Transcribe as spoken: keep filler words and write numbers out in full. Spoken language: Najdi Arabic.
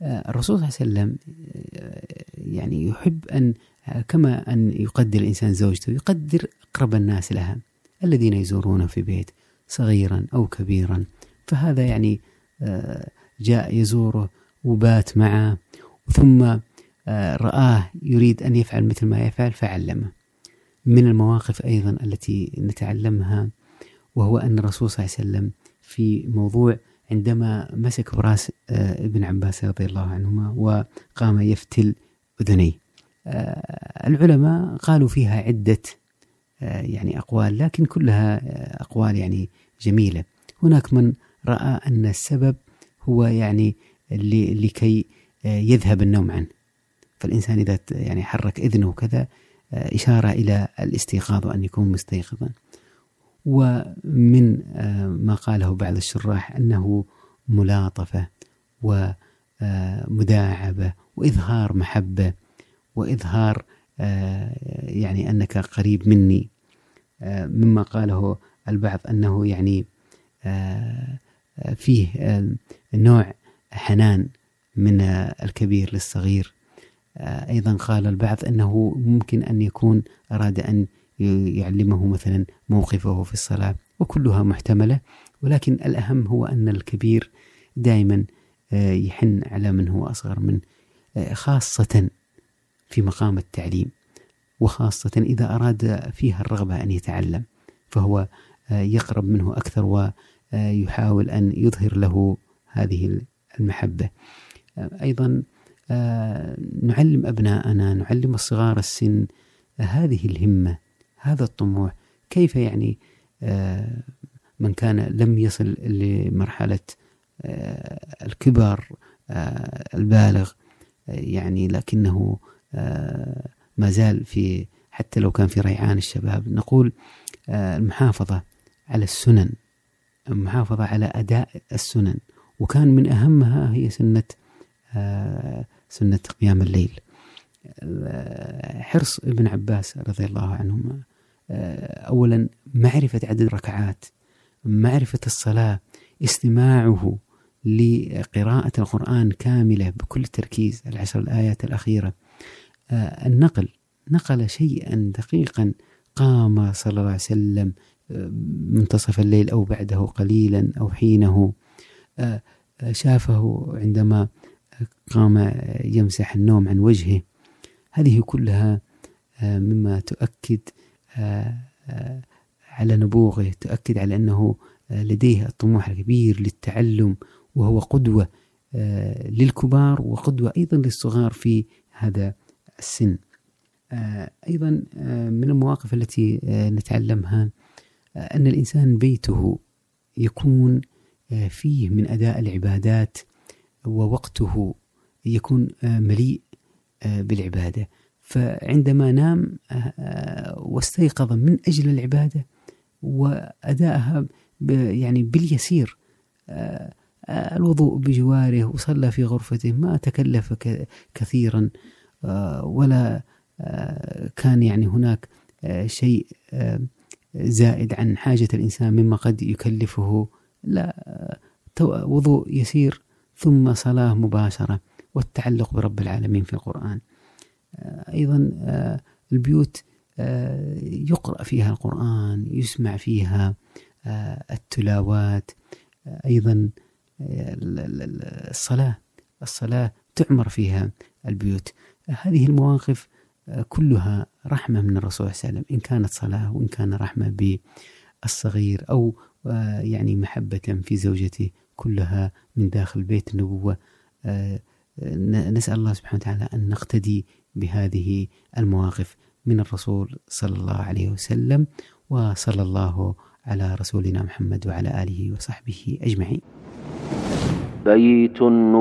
الرسول صلى الله عليه وسلم يعني يحب أن كما أن يقدر الإنسان زوجته يقدر أقرب الناس لها الذين يزورونه في بيت صغيرا أو كبيرا. فهذا يعني جاء يزوره وبات معه، ثم رآه يريد أن يفعل مثل ما يفعل فعلمه. من المواقف أيضا التي نتعلمها وهو أن الرسول صلى الله عليه وسلم في موضوع عندما مسك براس ابن عباس رضي الله عنهما وقام يفتل أذنيه، العلماء قالوا فيها عدة يعني أقوال، لكن كلها أقوال يعني جميلة. هناك من رأى أن السبب هو يعني لكي يذهب النوم عنه، فالإنسان إذا يعني حرك إذنه وكذا إشارة إلى الاستيقاظ وأن يكون مستيقظا. ومن ما قاله بعض الشراح أنه ملاطفة ومداعبة وإظهار محبة وإظهار يعني أنك قريب مني. مما قاله البعض أنه يعني فيه نوع حنان من الكبير للصغير. أيضا قال البعض أنه ممكن أن يكون أراد أن يعلمه مثلا موقفه في الصلاة، وكلها محتملة، ولكن الأهم هو أن الكبير دائما يحن على من هو أصغر منه، خاصة في مقام التعليم، وخاصة إذا أراد فيها الرغبة أن يتعلم، فهو يقرب منه أكثر ويحاول أن يظهر له هذه المحبة. أيضا نعلم أبناءنا، نعلم الصغار السن هذه الهمة، هذا الطموح. كيف يعني من كان لم يصل لمرحلة الكبر البالغ يعني لكنه ما زال في، حتى لو كان في ريعان الشباب، نقول المحافظة على السنن، المحافظة على أداء السنن، وكان من أهمها هي سنة سنة قيام الليل. حرص ابن عباس رضي الله عنهما أولا معرفة عدد الركعات، معرفة الصلاة، استماعه لقراءة القرآن كاملة بكل تركيز، العشر الآيات الأخيرة، النقل، نقل شيئا دقيقا. قام صلى الله عليه وسلم منتصف الليل أو بعده قليلا أو حينه، شافه عندما قام يمسح النوم عن وجهه. هذه كلها مما تؤكد على نبوغه، تؤكد على أنه لديه الطموح الكبير للتعلم، وهو قدوة للكبار وقدوة أيضا للصغار في هذا السن. أيضا من المواقف التي نتعلمها أن الإنسان بيته يكون فيه من أداء العبادات، ووقته يكون مليء بالعبادة. فعندما نام واستيقظ من أجل العبادة وأدائها يعني باليسير، الوضوء بجواره وصلى في غرفته، ما تكلف كثيرا ولا كان يعني هناك شيء زائد عن حاجة الإنسان مما قد يكلفه، لا، وضوء يسير ثم صلاة مباشرة، والتعلق برب العالمين في القرآن. أيضا البيوت يقرأ فيها القرآن، يسمع فيها التلاوات. أيضا الصلاة الصلاة تعمر فيها البيوت. هذه المواقف كلها رحمة من الرسول صلى الله عليه وسلم، إن كانت صلاة وإن كان رحمة بالصغير أو يعني محبة في زوجته، كلها من داخل بيت النبوة. نسأل الله سبحانه وتعالى أن نقتدي بهذه المواقف من الرسول صلى الله عليه وسلم، وصلى الله على رسولنا محمد وعلى آله وصحبه أجمعين. بيت